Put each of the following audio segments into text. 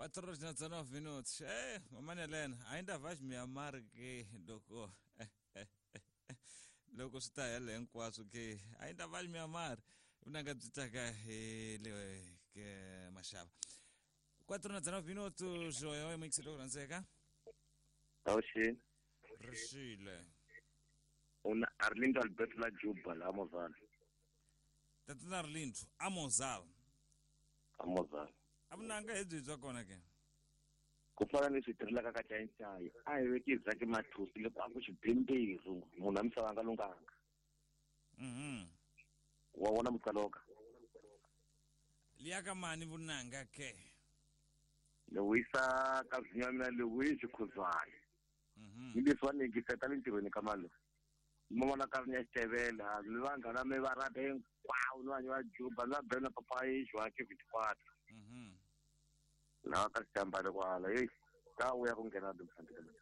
4 horas na 19 minutos. É, mamãe Helena, ainda vais me amar que loko loko swi ta hela hinkwaswo ke ainda vais me amar vunanga byi taka hi le ke maxava 4 na 19 minutos oyo mixi loko rhandzeka Awuxini. Rixile. Una Arlindo Alberto la Juba la Mozala. Tatana Arlindo Amozala. Amozala. A vunanga hi byi bya kona ke? Ku fana ni swi tirhelaka ka Chayinchayi, a hi veki Zaki Mathusi loko a ku xibimbiru munhu a misava a nga lunghanga. Wa vona mutsaloka. Liya ka mani vunanga ke? Ni wisa ka zinyamela le wisi khuzwana. Ni leswi va ni yingiseta le ntirhweni ka mali. Ni vona ka ri ni ya xitevela, ni vanghana mi va rata hinkwavo, ni vanhu va Juba, ni va Bena Papa Joaquim 24. Laha ka xitambalo kwala, hey, ta vuya ku nghena timfanelo.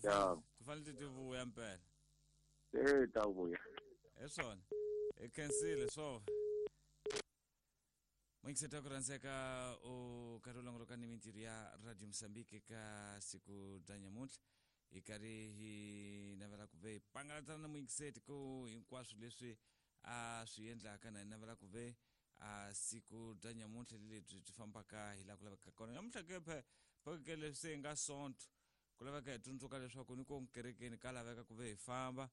Ya. Ti fanele ti vuya mpela. Eh, ta vuya. Hi swona. Hi khensile swo. Muyingiseti ku rhandzeka u karhi u longoloka ni mintirho ya Radio Mozambique ka siku bya nyamuntlha hi karhi hi navela ku ve hi pangalatana na muyingiseti ku hinkwaswo leswi a swi endlaka na hi navela ku ve a siku bya nyamuntlha lebyi byi fambaka hi laha ku lavekaka kona nyamuntlha ke phe phakeke leswi se hi nga sonto ku laveka hi tsundzuka leswaku ni ko kerekeni ka laveka ku ve hi famba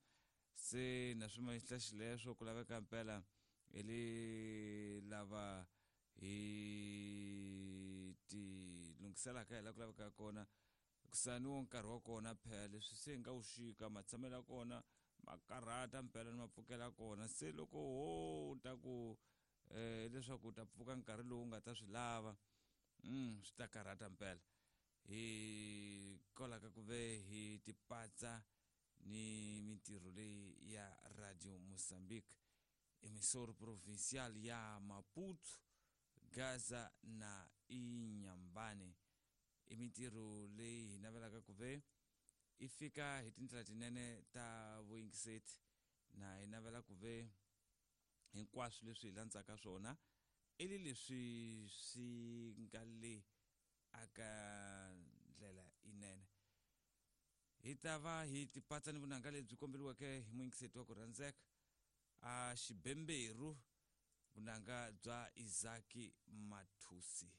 se na swi mahla xileswo ku laveka mpela hi le lava hi ti lunghiselaka hi laha ku lavekaka kona kusani wo nkarhi wa kona phela leswi se nga wu xika matshamelo ya kona ma karhata mpela ni mapfukela kona se loko ho ta ku leswaku u ta pfuka nkarhi lowu nga ta swi lava swi ta karhata mpela hi kolaka ku ve hi tipatsa ni mintirho leyi ya Radio Mozambique emissora provincial ya Maputo Gaza na Inhambane i mintirho leyi hi navelaka ku ve i fika hi tindlela tinene ta vuyingiseti na hi navela ku ve hinkwaswo leswi hi landzaka swona i le leswi swi nga le aka ndlela inene hi ta va hi tipatsa ni vunanga lebyi komberiweke hi muyingiseti wa ku rhandzeka a xibemberu vunanga bya Isaki Mathusi.